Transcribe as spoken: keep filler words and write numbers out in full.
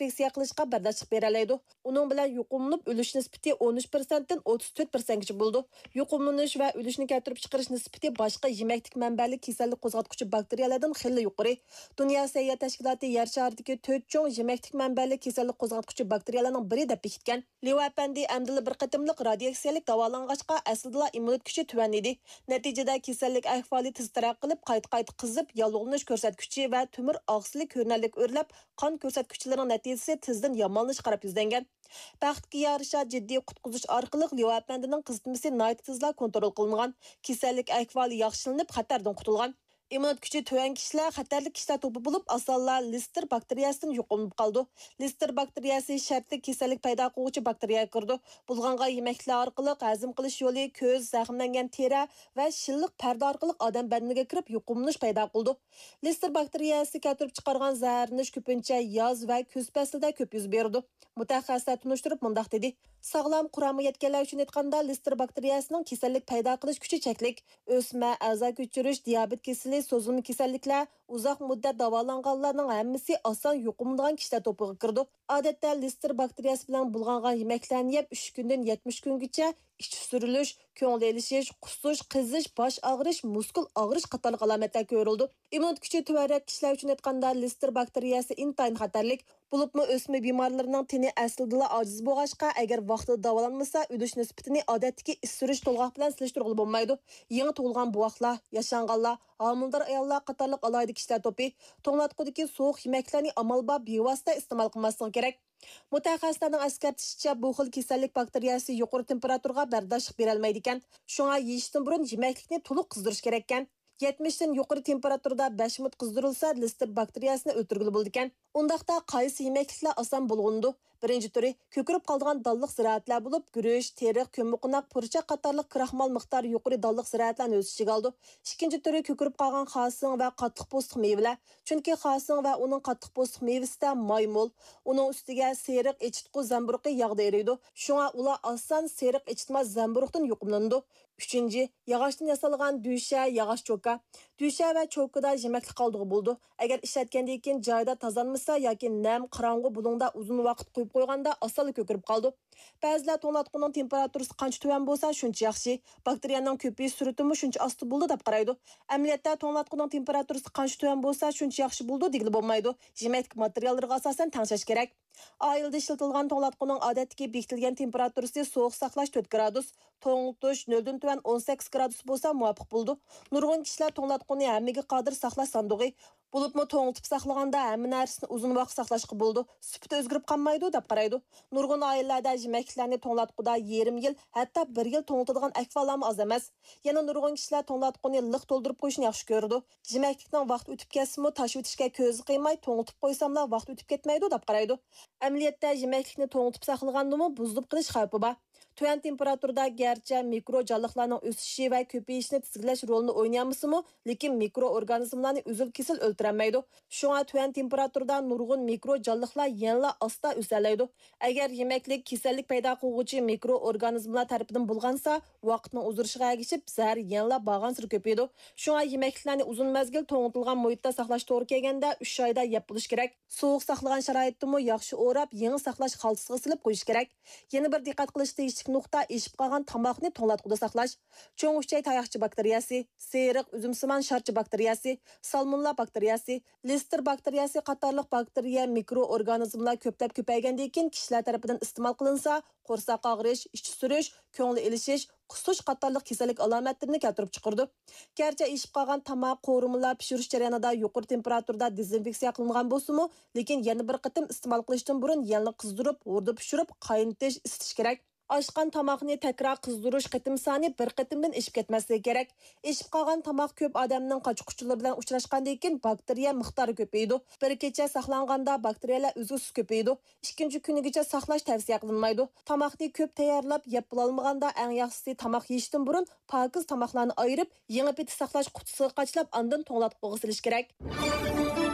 ئىنفېكسىيە قىلىشقا بەرداشلىق بېرەلەيدۇ. ئۇنىڭ بىلەن يۇقۇملىنىپ ئۆلۈش نىسبىتى ئون ئۈچ پىرسەنتتىن ئوتتۇز تۆت پىرسەنتكىچە بولىدۇ. يۇقۇملىنىش ۋە ئۆلۈشنى كەلتۈرۈپ چىقىرىش نىسبىتى باشقا يېمەكلىك مەنبەلىك كېسەللىك قوزغاتقۇچى باكتېرىيەلەردىن خېلى يۇقىرى. دۇنيا سەھىيە تەشكىلاتى يەر شارىدىكى تۆت چوڭ يېمەكلىك مەنبەلىك كېسەللىك قوزغاتقۇچى باكتېرىيەلەرنىڭ بىرى دەپ بېكىتكەن. ليۇ ئەپەندى ئەمدىلا بىر قېتىملىق رادىياتسىيەلىك داۋالانغاچقا، ئەسلىدىلا ئىممۇنىتېت كۈچى تۆۋەنلىدى. نەتىجىدە، كېسەللىك ئەھۋالى تېز تەرەققىي قىلىپ، قايتا-قايتا قىزىپ، ياللۇغلىنىش كۆرسەتكۈچى ۋە تۆمۈر ئاغزىسى كۆرۈنەرلىك ئۆرلەپ، قان كۆرسەتكۈچىلىرىنىڭ نەتىجىسى تېزدىن يامانلىشىش قاراپ يۈزلەنگەن. بەختكە يارىشا، جىددىي قۇتقۇزۇش ئارقىلىق ليۇ ئەپەندىنىڭ قىزىتمىسى ناھايىتى تېزلا كونترول قىلىنغان. كېسەللىك ئەھۋالى ياخشىلىنىپ، خەتەردىن قۇتۇلغان. ئىممۇنىتېت كۈچى تۆۋەن كىشىلەر خەتەرلىك كىشىلەر توپى بولۇپ، ئاسانلا لېستېر باكتېرىيەسىدىن يۇقۇملىنىپ قالىدۇ. لېستېر باكتېرىيەسى شەرتلىك كېسەللىك پەيدا قىلغۇچى باكتېرىيەگە كىرىدۇ. بۇلغانغان يېمەكلىكلەر ئارقىلىق ھەزىم قىلىش يولى، كۆز، زەخىملەنگەن تېرە ۋە شىللىق پەردە ئارقىلىق ئادەم بەدىنىگە كىرىپ يۇقۇملىنىش پەيدا قىلىدۇ. لېستېر باكتېرىيەسى كەلتۈرۈپ چىقارغان زەھەرلىنىش كۆپىنچە ياز ۋە كۈز پەسلىدە كۆپ يۈز بېرىدۇ. مۇتەخەسسىسلەر تونۇشتۇرۇپ مۇنداق دېدى: ساغلام قۇرامى يەتكەنلەر ئۈچۈن ئېيتقاندا، لېستېر باكتېرىيەسىنىڭ كېسەللىك پەيدا قىلىش كۈچى چەكلىك. ئۆسمە، ئەزا كۆچۈرۈش، دىيابېت كېسىلى، سوزۇلما كېسەللىكلەر، ئۇزاق مۇددەت داۋالانغانلارنىڭ ھەممىسى ئاسان يۇقۇملىنىدىغان كىشىلەر توپىغا كىرىدۇ. ئادەتتە لېستېر باكتېرىيەسى بىلەن بۇلغانغان يېمەكلەرنى يەپ، ئۈچ كۈندىن يەتمىش كۈنگىچە ئىچى سۈرۈلۈش، كۆڭۈل ئېلىشىش، قۇسۇش، قىزىش، باش ئاغرىش، مۇسكۇل ئاغرىش قاتارلىق ئالامەتلەر كۆرۈلىدۇ. ئىممۇنىتېت كۈچى تۆۋەنرەك كىشىلەر ئۈچۈن ئېيتقاندا، لېستېر باكتېرىيەسى ئىنتايىن خەتەرلىك. بولۇپمۇ ئۆسمە بىمارلىرىنىڭ تېنى ئەسلىدىلا ئاجىز بولغاچقا، ئەگەر ۋاقتىدا داۋالانمىسا، ئۆلۈش نىسبىتىنى ئادەتتىكى ئىچى سۈرۈش تولغاق بىلەن سېلىشتۇرغىلى بولمايدۇ. يېڭى تۇغۇلغان بوۋاقلار، ياشانغانلار، ھامىلىدار ئاياللار قاتارلىق ئالاھىدە كىشىلەر توپى توڭلاتقۇدىكى سوغۇق يېمەكلەرنى ئامال بار بىۋاسىتە ئىستېمال قىلماسلىقى كېرەك. مۇتەخەسسىسلەرنىڭ ئەسكەرتىشىچە، بۇ خىل كېسەللىك باكتېرىيەسى يۇقىرى تېمپېراتۇرىغا بەرداشلىق بېرەلمەيدىكەن. شۇڭا يېيىشتىن بۇرۇن يېمەكلىكنى تولۇق قىزدۇرۇش كېرەككەن. يەتمىشتىن يۇقىرى تېمپېراتۇرىدا بەش مىنۇت قىزدۇرۇلسا، لېستېر باكتېرىيەسىنى ئۆلتۈرگىلى بولىدىكەن. ئۇنداقتا قايسى يېمەكلىكلەر ئاسان بۇلغىنىدۇ؟ بىرىنچى تۈرى كۆكىرىپ قالىدىغان دانلىق زىرائەتلەر بولۇپ، گۈرۈچ، تېرىق، كۆممىقوناق، پۇرچاق قاتارلىق كىراخمال مىقدارى يۇقىرى دانلىق زىرائەتلەرنى ئۆز ئىچىگە ئالىدۇ. ئىككىنچى تۈرى كۆكىرىپ قالغان خاسىڭ ۋە قاتتىق پوستلۇق مېۋىلەر. چۈنكى خاسىڭ ۋە ئۇنىڭ قاتتىق پوستلۇق مېۋىسىدە ماي مول. ئۇنىڭ ئۈستىگە سېرىق ئېچىتقۇ زەمبۇرۇغى ياغدا ئېرىيدۇ. شۇڭا ئۇلار ئاسان سېرىق ئېچىتماس زەمبۇرۇغدىن يۇقۇملىنىدۇ. ئۈچىنچى، ياغاچتىن ياسالغان دۈشە، ياغاچ چوكا. دۈشە ۋە چوكىدا يېمەكلىك قالدۇقى بولىدۇ. ئەگەر ئىشلەتكەندىن كېيىن جايىدا تازىلانمىسا ياكى نەم، قاراڭغۇ بۇلۇڭدا ئۇزۇن ۋاقىت قويۇپ قويغاندا، ئاسانلا كۆكىرىپ قالىدۇ. بەزىلەر توڭلاتقۇنىڭ تېمپېراتۇرىسى قانچە تۆۋەن بولسا، شۇنچە ياخشى. باكتېرىيەنىڭ كۆپىيىش سۈرئىتىمۇ شۇنچە ئاستا بولىدۇ، دەپ قارايدۇ. ئەمەلىيەتتە، توڭلاتقۇنىڭ تېمپېراتۇرىسى قانچە تۆۋەن بولسا، شۇنچە ياخشى بولىدۇ، دېگىلى بولمايدۇ. يېمەكلىك ماتېرىياللىرىغا ئاساسەن تەڭشەش كېرەك. ئائىلىدە ئىشلىتىلىدىغان توڭلاتقۇنىڭ ئادەتتىكى بېكىتىلگەن تېمپېراتۇرىسى سوغۇق ساقلاش تۆت گرادۇس، توڭلىتىش نۆلدىن تۆۋەن ئون سەككىز گرادۇس بولسا مۇۋاپىق بولىدۇ. نۇرغۇن كىشىلەر توڭلاتقۇنى ھەممىگە قادىر ساقلاش ساندۇقى، بولۇپمۇ توڭلىتىپ ساقلىغاندا ھەممە نەرسىنى ئۇزۇن ۋاقىت ساقلاشقا بولىدۇ، سۈپىتى ئۆزگىرىپ قالمايدۇ، دەپ قارايدۇ. نۇرغۇن ئائىلىلەردە يېمەكلىكلەرنى توڭلاتقۇدا يېرىم يىل، ھەتتا بىر يىل توڭلىتىدىغان ئەھۋاللارمۇ ئاز ئەمەس. يەنە نۇرغۇن كىشىلەر توڭلاتقۇنى لىق تولدۇرۇپ قويۇشنى ياخشى كۆرىدۇ. يېمەكلىكنىڭ ۋاقتى ئۆتۈپ كەتسىمۇ، تاشلىۋېتىشكە كۆزى قىيماي، توڭلىتىپ قويساملا ۋاقىت ئۆتۈپ كەتمەيدۇ، دەپ قارايدۇ. ئەمەلىيەتتە، يېمەكلىكنى توڭلىتىپ ساقلىغاندىمۇ بۇزۇلۇپ قېلىش خەۋپى بار. تۆۋەن تېمپېراتۇرىدا گەرچە مىكرو جانلىقلارنىڭ ئۆسۈشى ۋە كۆپىيىشىنى تىزگىنلەش رولىنى ئوينىيالمىسىمۇ، لېكىن مىكرو ئورگانىزملارنى ئۈزۈل-كېسىل ئۆلتۈرەلمەيدۇ. شۇڭا تۆۋەن تېمپېراتۇرىدا نۇرغۇن مىكرو جانلىقلار يەنىلا ئاستا ئۆسەلەيدۇ. ئەگەر يېمەكلىك كېسەللىك پەيدا قىلغۇچى مىكرو ئورگانىزملار تەرىپىدىن بۇلغانسا، ۋاقىتنىڭ ئۇزىرىشىغا ئەگىشىپ، زەھەر يەنىلا بارغانسېرى كۆپىيىدۇ. شۇڭا يېمەكلىكلەرنى ئۇزۇن مەزگىل توڭلىتىلغان مۇھىتتا ساقلاش توغرا كەلگەندە، ئۈچ ئايدا يەپ بولۇش كېرەك. سوغۇق ساقلىغان شارائىتتىمۇ ياخشى ئوراپ، يېڭى ساقلاش خالتىسىغا سېلىپ قويۇش كېرەك. يەنە بىر دىققەت قىلىش تېگىشلىك نۇقتا، ئېشىپ قالغان تاماقنى توڭلاتقۇدا ساقلاش. چوڭ ئۈچەي تاياقچە باكتېرىيەسى، سېرىق ئۈزۈمسىمان شارچە باكتېرىيەسى، سالمونېللا باكتېرىيەسى، لېستېر باكتېرىيەسى قاتارلىق باكتېرىيە، مىكرو ئورگانىزملار كۆپلەپ كۆپەيگەندىن كېيىن كىشىلەر تەرىپىدىن ئىستېمال قىلىنسا، قورساق ئاغرىش، ئىچى سۈرۈش، كۆڭۈل ئېلىشىش، قۇسۇش قاتارلىق كېسەللىك ئالامەتلىرىنى كەلتۈرۈپ چىقىرىدۇ. گەرچە ئېشىپ قالغان تاماق، قورۇمىلار پىشۇرۇش جەريانىدا يۇقىرى تېمپېراتۇرىدا دېزىنفېكسىيە قىلىنغان بولسىمۇ، لېكىن يەنە بىر قېتىم ئىستېمال قىلىشتىن بۇرۇن يەنىلا قىزدۇرۇپ، ھوردىن پىشۇرۇپ، قاينىتىش، ئىسىتىش كېرەك. ئاشقان تاماقنى تەكرار قىزدۇرۇش قېتىم سانى بىر قېتىمدىن ئېشىپ كەتمەسلىكى كېرەك. ئېشىپ قالغان تاماق كۆپ ئادەمنىڭ قاچا-قۇچىلىرى بىلەن ئۇچراشقاندىن كېيىن باكتېرىيە مىقدارى كۆپىيىدۇ. بىر كېچە ساقلانغاندا باكتېرىيەلەر ئۈزلۈكسىز كۆپىيىدۇ. ئىككىنچى كۈنىگىچە ساقلاش تەۋسىيە قىلىنمايدۇ. تاماقنى كۆپ تەييارلاپ يەپ بولالمىغاندا، ئەڭ ياخشىسى تاماق يېيىشتىن بۇرۇن پاكىز تاماقلارنى ئايرىپ، يېڭى پېتى ساقلاش قۇتىسىغا قاچىلاپ، ئاندىن توڭلاتقۇغا سېلىش كېرەك.